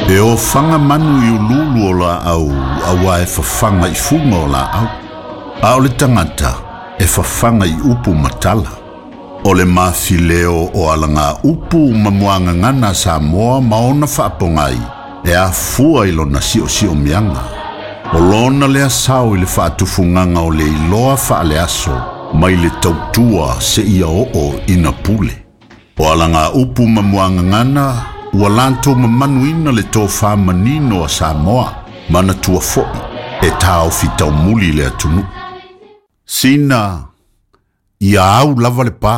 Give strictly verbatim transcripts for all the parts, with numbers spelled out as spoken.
E ofaga manu i ululu o laau auā e fafaga i fuga o laau. A o le tagata e fafaga i upu ma tala. O le mafileo o alaga upu ma muagagana a Samoa ma ona faapogai e afua i lona siosiomiaga. O lona lea sao i le faatufugaga o le iloa faaleaso mai le tautua seia oo ina pule. O alaga upu ma muagagana ua latou mamanuina le tofā manino a Samoa manatua fo'i e taofi taumuli le atunuu. Sina ia au lava le pā.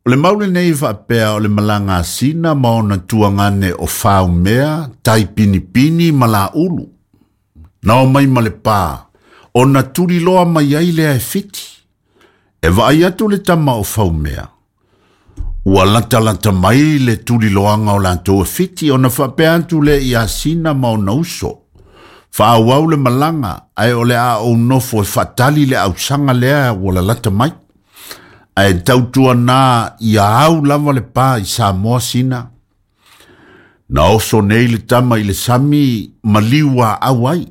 O le mau lenei faapea o le malaga a Sina ma ona tuagane o Faumea, Taipinipini ma Laulu. Na omai ma le pā, ona tuliloa mai ai lea e Fiti. E vaai atu le tama o Faumea. Ua latalata mai le tuliloaga o latou e Fiti ona faapea atu lea ia Sina ma ona uso. Faaauau le malaga, ae o le a ou nofo e faatali le ausaga lea ua lalata mai. Ae tautuanā ia au lava le pā i Samoa Sina. Na oso nei le tama i le sami maliu aau ai.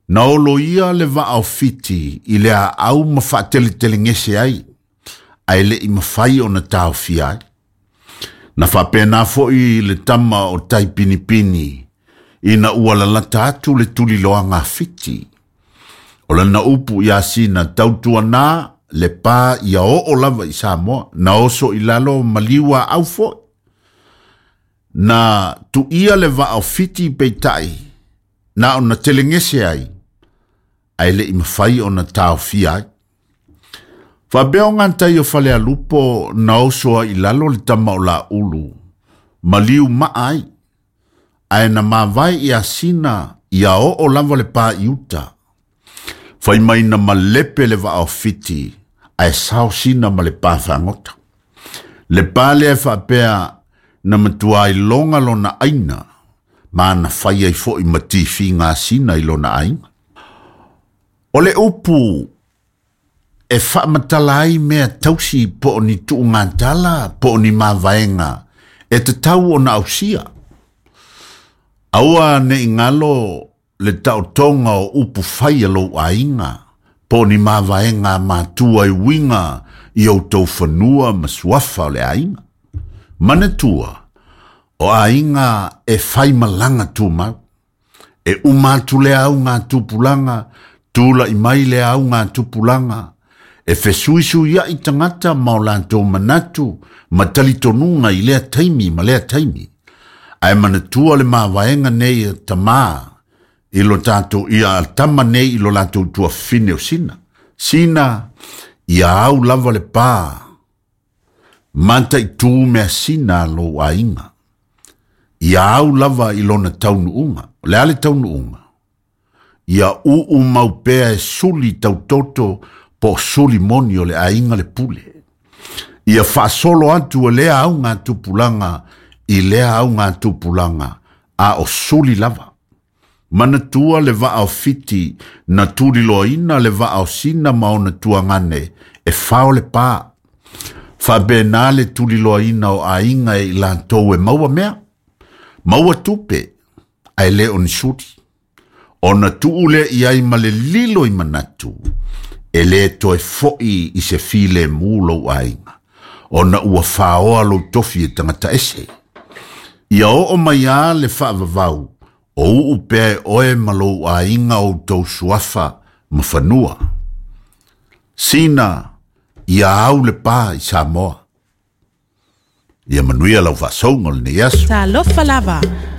Na oloia le vaa o Fiti i le aau ma faateletelegese ai, ae le'i mafai ona taofia ai. Na faapena fo'i le tama o Taipinipini, ina ua lalata atu le tuliloaga a Fiti. O lana upu ia Sina tautuanā le pā ia oo lava i Samoa, na oso i lalo maliu aau fo'i. Na tuia le vaa o Fiti peitai, na ona telegese ai, ae le'i mafai ona taofia ai. Faapea o gatai o Falealupo na oso ai i lalo le tama o Laulu, maliu maa ai, ae na mavae ia Sina ia oo lava le pā i uta. Fai mai na malepe le vaa o Fiti, ae sao Sina ma le pā fagota. Le pā lea e faapea na matua iloga lona aina, ma na fai ai fo'i ma tifiga a Sina i lona aiga. O le upu e faamatala ai mea tausi po o ni tuugatala po o ni mavaega e tatau ona ausia. Aua ne i galo le taotoga o upu fai a lou aiga po o ni mavaega a matua e uiga i outou fanua ma suafa o le aiga. Manatua, o aiga e fai malaga tumau. E uma atu le auga tupulaga, tula'i mai le auga tupulaga, e fesuisuia'i tagata ma o latou manatu ma talitonuga i lea taimi ma lea taimi. Ae manatua le mavaega nei e tamā i lo tatou ia tama nei i lo latou tuafafine o Sina. Sina, ia au lava le pā, mataitū measina a lou aiga. Ia au lava i lona taunuuga. O le a le taunuuga? Ia uu mau pea e suli tautoto po o suli moni o le aiga le pule. Ia faasolo atu e lea auga tupulaga i lea auga tupulaga, a o suli lava. Manatua le vaa o Fiti na tuliloaina le vaa o Sina ma ona tuagane e fao le pā. Faapena le tuliloaina o aiga e i latou e maua mea, maua tupe, ae le o ni suli. Ona tuu lea i ai ma le lilo i manatu, e lē toe fo'i i se filemu lou aiga, ona ua faoa lou tofi e tagata ese. Ia oo mai lava le faavavau, o uu pea e oe ma lou aiga outou suafa ma fanua. Sina, ia au le pā i Samoa. Ia manuia lau faasauga o lenei aso. Talofa lava.